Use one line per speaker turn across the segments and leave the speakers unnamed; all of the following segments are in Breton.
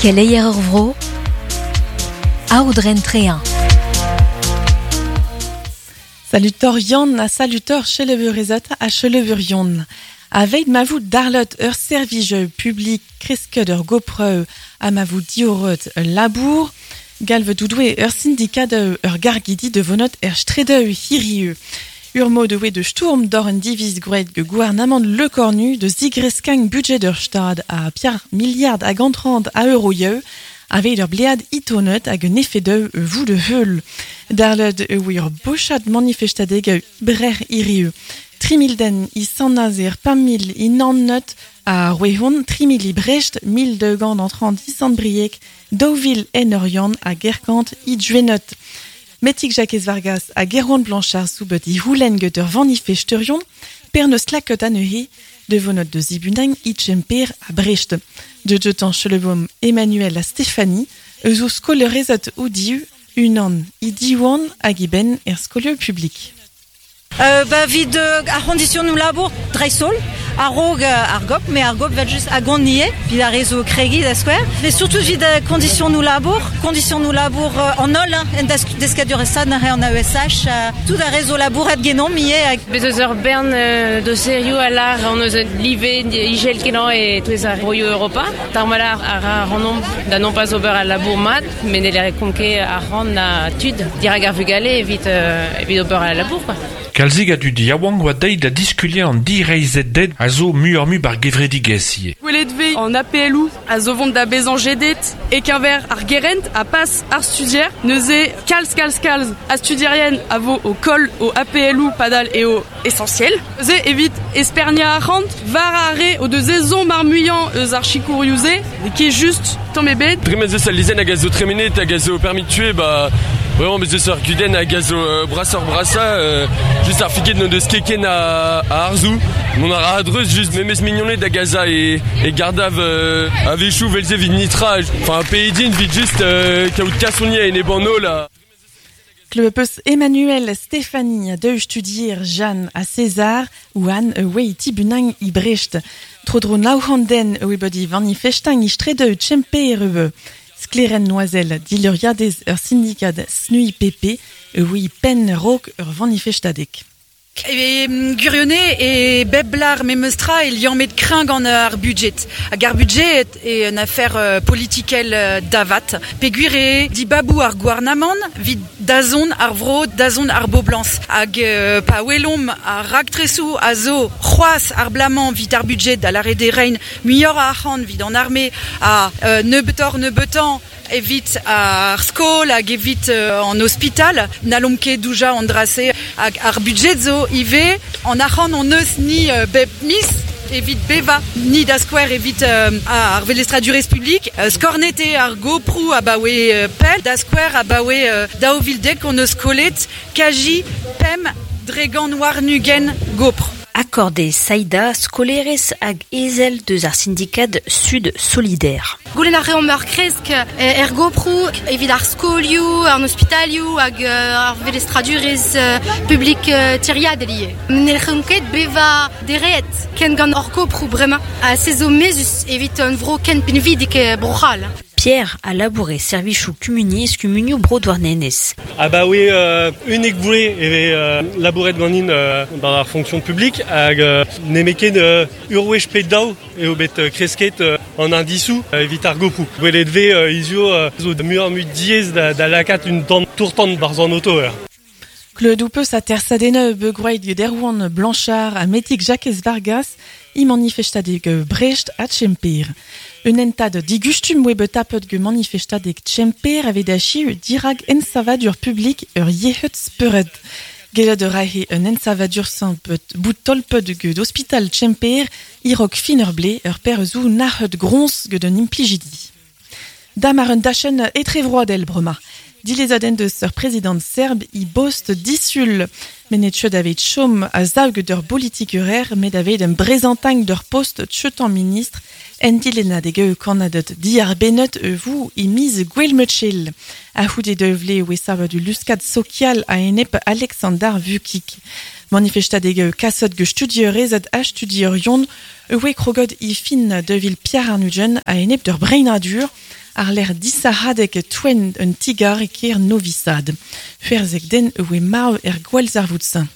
Keleier ur vro, Aodren Trehin.
Salutor Yann ha salutor cheleveurezot ha cheleveurion. Aveit ma vout darlot ur servij publik kresket ur gopreu ha ma vout diorret ul labour, galv doudoue ur syndikat ur gargidi de vonot er stredeu hirieu. Ur mod oe de stourm d'or un diviz gwraet ge gouarnamant Le Cornu de zigreskagn budget ur stad a piar milliard hag antrant a euroieu aveit ur blead itonet hag un efedeu vou de heul. Darled e oe ur bochad manifestadeg brer hirieu. 3000 den i Sant-Nazer, 5000 i Nannet a Rouehon, 3000 i Brest, 1200 an 30 i Sant-Brieg, 2000 en Oriant ha Gerkant i Djuenot. Metig Jakez Vargas hag Erwan Blanchard soubet i houlenn get ur vanifesterion, per neus laket anezhe de vonot de zibunagn i Tchemper a Brest. De jetan chelebom Emmanuel ha Stéphanie, eus o skolerezat o diu, unan i diwan hag i ben er skolio publik.
Ba vid ar c'hondisionoù labour dreist-holl, a-raok ar gop, met ar gop vel just a gont ivez, evit ar re zo kregiñ da skouer. Mais surtout evit kondisionoù labour, kondisionoù labour an holl hein, en deskadurezh neuze an AESH, tout ar re zo labourat genomp ivez.
Bez eus ur bern doserioù a lâr hon eus live izel-kenañ e-touez ar broioù Europa. Tarmal a ra ac'hanomp da non pas ober al labour mat, met ne lâromp ket arc'hant na tud dirak ar vugale evit, evit ober al labour. Quoi.
Kalzik a dud yaouank oa deuet da diskuliañ an direizhded a zo muioc'h-mui bar gevredigezh ivez.
Gwelet 'vez an APL-où a zo vont da bezañ jedet e-keñver ar gerent ha pas ar studier. Neuze kalz kalz kalz a studierien a vo o koll o APL-où padal eo essentiel. Neuze evit esperniañ arc'hant war ar re o deus ezhomm ar muiañ eus ar sikourioù-se, n'eo ket just tamm ebet.
Dre ma 'z eus al lezenn hag a zo tremenet hag a zo permis de tuer, ba vraiment bez eus ur gudenn hag a zo brasoc'h-brasañ. Just ar fiked n'o deus ket ken a harzoù. Mont a ra a-dreuz just memes mignoned hag a za e, e gardav a-wechoù 'vel-se 'vit nitra. Enfin pediñ 'vit just kaout kasoni a-enep an holl. Ha...
Klevet peus Emmanuel, Stéphanie, deux studier Jeanne ha César, oan oe tibunagn i Brest. Tro-dro nav c'hant den oe bet i vanifestañ i stredeu Tchemper eo. Sklaerenn Noisel, dileuriadez ur sindikad SNUIPP, oe penn raok ur vanifestadeg.
E gwirionez e bep lar memes tra e liammet kreñv gant ar budjed. Hag ar budjed eo un afer politikel da vat. Peogwir eo dibaboù ar gouarnamant evit dazont ar vro, dazont ar boblañs. Hag pa welomp ar raktresoù a zo c'hoazh ar bloaz-mañ evit ar budjed, da lâret eo reiñ muioc'h a arc'hant evit an arme ha nebeutoc'h-nebeutañ evit ar skol hag evit an ospital. N'hallomp ket doujañ an dra-se hag ar budjed zo ivez an arc'hant hon eus ni bep miz evit bevañ. Ni da skouer evit ar velestradurezh publik. Skornet eo ar goproù abaoe pell. Da skouer abaoe 2010 hon eus kollet kaji 25% gopr.
Accordé Saïda, skolerez hag ezel deus ar sindikad Sud Solidaire.
Goulenn a reomp ur kresk er goproù evit ar skolioù, an ospitalioù hag ar velestradurezh publik tiriadel ivez. N'hellomp ket bevañ dereat ken gant hor goproù bremañ ha se zo mezhus evit un vro ken pinvidik e Bro-C'hall.
Pierre a labour e servijoù kumuniezh kumunioù Bro Douarnenez.
Abaoe unnek vloaz e vez labouret ganin dans ar fonction publique hag nemet ket ur wech pe daou eo bet kresket an indisoù evit ar goproù. Gwelet 'vez hiziv zo muioc'h-mui diaes da lakaat un tamm tour-tan 'barzh an oto.
Klevet peus atersadennoù begroaet get Erwan Blanchard ha Metig Jakez Vargas i manifestadeg Brest ha Tchemper. Un hentad digustum oe bet tapet get manifestadeg Tchemper aveit achiu dirak ensavadur publik ur yec'hed spered. Gellet a rae un ensavadur sampet bout tolpet get ospital Tchemper e-raok fin ur blez ur per zo nac'het groñs get un implijidi. Dam ar un dachenn etrevroadel bremañ. Dilezadenn deus ur prezidant serb i bost disul. Met n'eo ket aveit chom a-sav get ur politikurer met aveit un brezantagn d'ur post tcheutañ ministr en dilennadeg eo kannaded diarbennet e vo e miz Gwelmetchel. A-c'houde daou vloaz e oe savet ul luskad sokial a-enep Aleksandar Vukic. Manifestadeg eo kaset get studierezed ha studierion e oe kroget e fin 2024 a-enep d'ur breinadur. ar l'er disahadek toen un tigar e ker Novi Sad. Ferzek den oe marv er gwalzarvoutsin.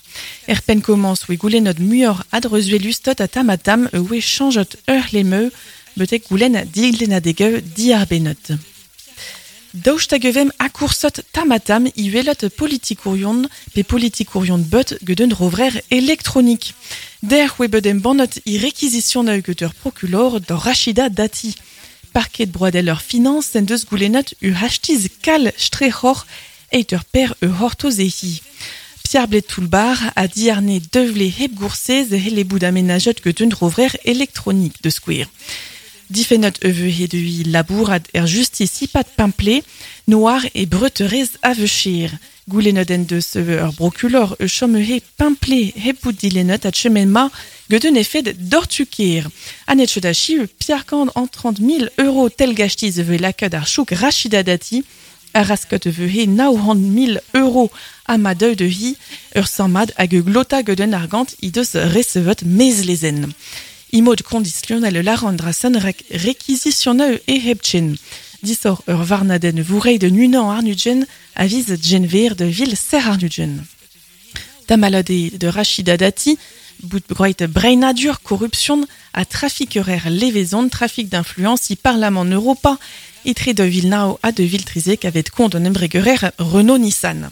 Er pen komans oe goulenot muior adreuzuelustot a tamatam oe chanjot ur lemeu betek goulen diglenadegeu diarbenot. Daoust hag evem akoursot tamatam iwelot politikourion pe politikourion beut get un rovrer elektronik. Der oe bet embannet i requisition get ur prokulor da Rachida Dati. Parket broadel ur finance en deus goulennet u hachtiz kal strechor eit ur per ur hortozehi. Pierre Bled Toulbar a diarne devle hep goursez hele bout amenajot get un rovrer elektronik de square. Difenot eveu he deui labour ad er justice ipat pimple, noir e breuterez avechir. Goulenot en deus ur brokulor e chom he pimple hep bout dilenot ad chemen ma get un efed dortukir. Anet chodachi Pierre Kand en 30 000 euros tel gachtiz eveu lakad ar chouk Rachida Dati, ar raskot eveu he 900 000 euros ama deu de hi ur sammad hag e glota get un argant i deus recevet mezlezen. Imod konditionnel laran drasen rek réquisitionneu e hepchen. Disor ur varnaden vourei de nunan arnudjen aviz genver de vil ser arnudjen. Tamalade de Rachida Dati, bout groit breinadur corruption a trafiquerer levezon trafic d'influence i parlament Europa etre de Villeneuve a de Viltrizek avet kont an embregerer Renault Nissan.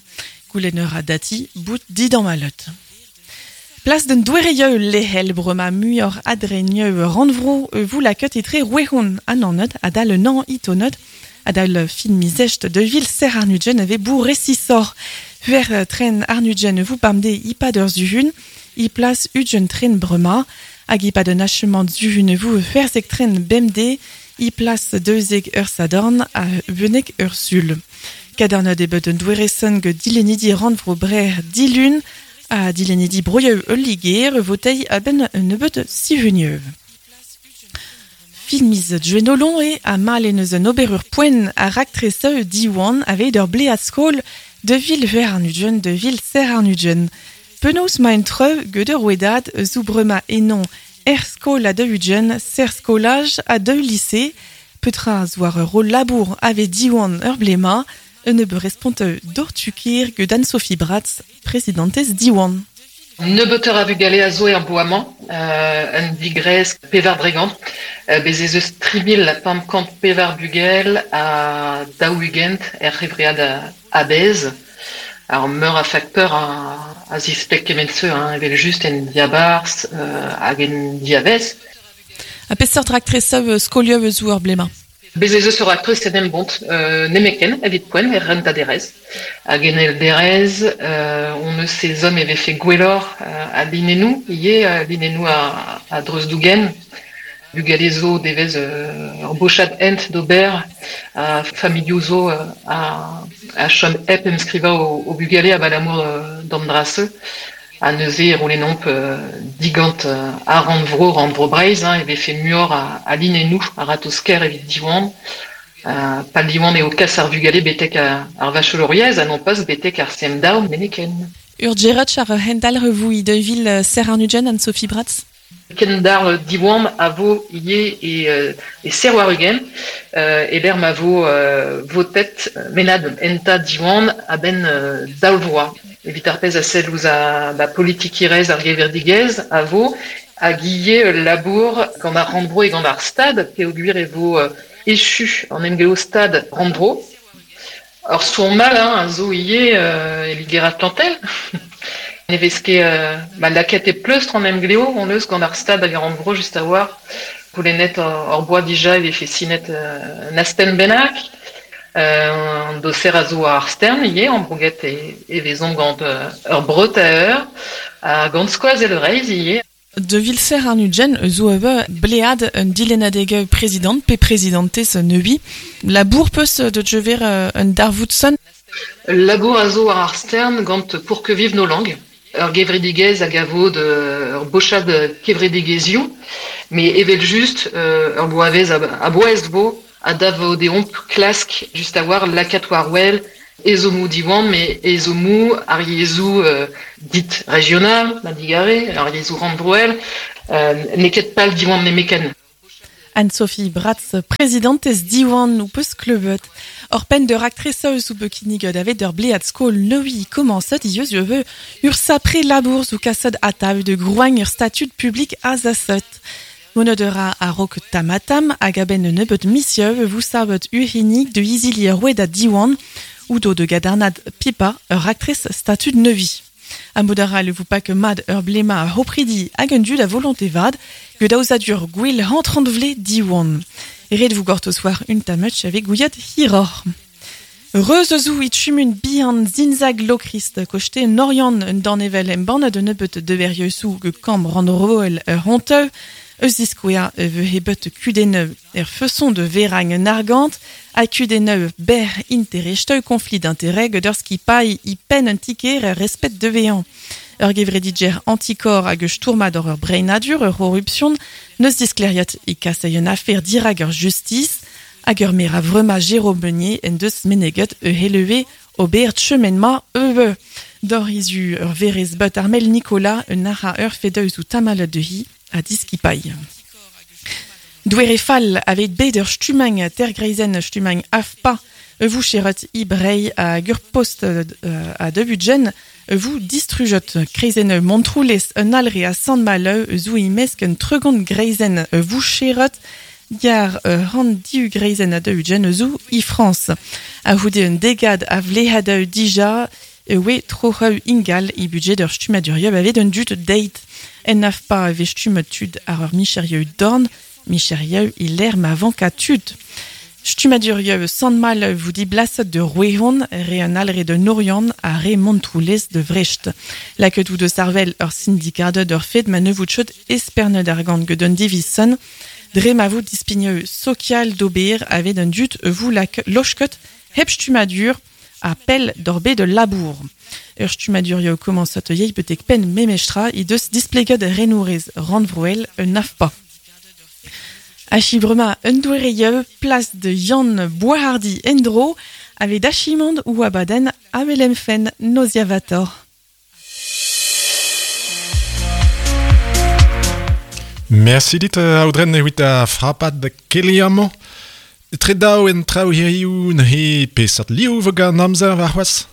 Goulenner a Dati bout didan malot. Place d'un douereieu lehel brema muior adrenieu randvro vous la ket etre rouehon ananot adal nan itonot adal fin mizecht de vil ser arnudjen ave bou resisor. Ver tren arnudjen vous bamde ipa d'ur zuhun, i place udjen tren brema, hag ipa d'un achement zuhun vous verzek tren bemde, i place deuzeg ur sadorn a venek ur sul. Kadarnod e bet un doueresen ge dilenidi randvro brer dilun, a dilenidi broieu ul liger votei a ben un nebeut sivunieu. Filmiz djuenolon e a mal en eus un oberur poen a raktreseu diwan aveit ur ble a skol de vil ver arnudjen de vil ser arnudjen. Penaos ma en treu get ur ouedad zou brema enon er skol a de udjen ser skolaj a de lycée petra zoar ur rôle labour ave diwan ur blema un ebe responteu dortukir get Anne-Sophie Bratz, presidentez Diwan.
Nebeuter a vugale a zo er boamañ, un digrez pevar dregant, bez ez eus 3000 pemp kant pevar bugel a daou-ugent er c'hevread a bez. Ar meur a facteur a zispleg kement-se, hein, evel just en diabarz hag en diavez.
A peseurt raktresev skolioù eus ur blema?
Bez ez eus ur raktres en em bont, nemeken, evit poent, er renta derez. Hag en el derez, on eus sezom e vefe gwellor a linenou, ie linenou a dreuz-dougen. Bugale zo devez ur bochad ent d'ober, a familioù zo a chom hep emskriva o bugale a balamour d'an drase. A neuze e roulenomp digant a rannvro Breizh, hein, e vefe muioc'h a linenou, a ratosker evit diwan. Pa diwan eo kas ar vugale betek ar vacheloriez, a non pas betek ar CM-DAO meneken.
Ur djerotch ar hendal revoui de vil ser arnudjen Anne-Sophie Bratz?
Kendar diwan a vo ie e ser war ugen, e ber ma vo votet menad enta diwan a ben daou vroa. Evit ar pezh a sell ouzh a ba politikirez ar geverdigez a vo hag ivez labour gant ar rannvro e gant ar stad peogwir e vo echu an emglev stad rannvro. Ur sourd mal, hein, a zo ivez e Liger Atlantel. Ne vez ket ma lakaet e pleustr an emglev on eus gant ar stad hag ar rannvro just a war. Goulennet ur boa dija e vefe sinet un astenn bennak. An doser a zo ar stern ivez, an broget e vezomp gant ur breut a eur, ha gant skoazell Breizh ivez.
De vilser arnudjen zo eve blead un dilennadeg prezident pe prezidentez neui. Labour peus de jever un darvoudson?
Labour a zo ar stern gant pour que vive nos langues. Ur gevredigez hag a vo de ur bochad kevredigezioù, mais evel just ur boavez a boez vo a dav vo deomp klask just a war lakat war wel ezomou diwan, mais ezomou ar yezhoù dit régional, ma digare, ar yezhoù rannvroel, neket pal diwan nemeken.
Anne-Sophie Bratz, prezidentez Diwan ou peus klevet. Ur penn d'ur aktreseus ou bekiniged avet ur blead skol neui komañset ieus ur ur sapre labour ou kased atav de groagn ur statud publik azaset. Monod ur a rok tamatam hag a-benn un nebeud misieu vous savet uhinig de izili roued a Diwan ou do de gadarnad pipa ur aktres statud neui. A modara le vous pak mad ur blema a hopridi hag un dud a volonté vad, ged aozadur gwell hantrant vle diwan. Ret vous gortoz war un tamuch avec gouiat hiror. Reuz eus it chumun bihan zinzag lokrist kochte norian un danevel embann de nebeut de verieusou ge kamp randroel ur honteu, eus diskouea veu hebet kudeneu er feson de veragn un argant, a kudeneu ber interesteu conflit d'intérêt ged ur skipailh i pen un tiket er respet de vean. Ur gevredidger antikor hag eus tourmad ur breinadur ur horruption, neus diskleriat i kasei un afer dirag ur justice, hag ur mera vrema Jérôme Meunier en deus meneget e heleve ober chemenma eue. Dor izu ur verez bet armel Nicolas un ara ur fedeus ou tamal de hi a diskipailh. Douere fall avec bet ur stumang tergreizen stumang afpa vous cheret ibrei a gur post a debutjen vous distrujot kreizen montroulez un alre a sant maleu zou imesk un tregont greizen vous cheret Yar rand diu greizen a debutjen zou i France. A houde un degad a vlehadeu dija oe trocheu ingal i budget ur stumadurieu avet un dut deit. En naf pa ave stumet tud ar ur micherieu dorn, micherieu i l'er ma vanka tud. Stumadurieu sant mal vous di blasset de Rouehon, re un alre de Norian a re Montroulez de Vrecht. La ketou de Sarvel ur syndikat d'ur fet ma ne vout chot esperne d'argant gedun divison, dre ma vout dispigneu social d'ober avet un dut vous la lochkot hep stumadur a pel d'orbe de labour. Ur stumadurio komañsot yei betek pen memestra i deus displeget renourez randvroel un afpa. Achibrema un douereieu place de Yann Boishardy endro avec dachimand ou abaden amelemfen noziavator.
Merci dit audren evit a frapad da keliamo. Tre daou en traoù hiriou he pesat liou vo gant amzer war c'hoazh.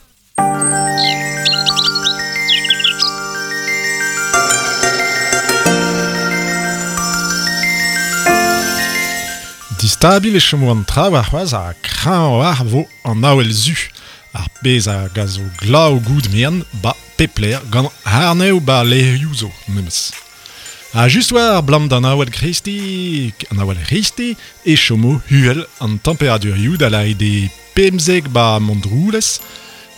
Distabil e chomo an traoù ar c'hoazh a kreñv war vo an awel zu. Ar pezh a gazo glav goud mean ba pepler gant harnev ba leurioù zo memes. A just war blam d'an awel kristi, an awel risti, e chomo huel an temperadurioù da la ide pemzek ba Mondroulez,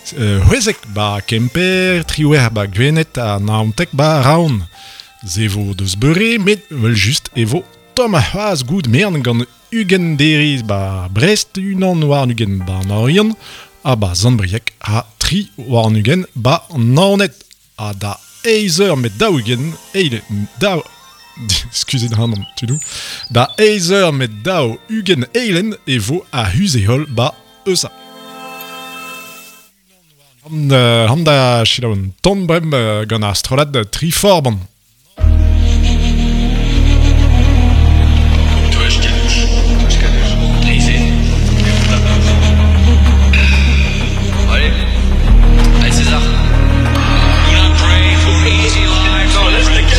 c'hwezek ba Kemper, triwer ba Gwened ha naontek ba Raon. Ze vo deus beure, met wel just e vo tomm a c'hoazh goud mean gant ugen deriz ba Brest, unan war ugen ba Naorian, ha ba Zandbriek ha tri war ugen ba Naoned. Ha da eizh eur met daou ugen, eile, daou... Excusez hanon, tudou. Da eizh eur met daou ugen eilen e vo a huzehol ba eusa. Han da selaou un ton brem gant ar strollad Triforban.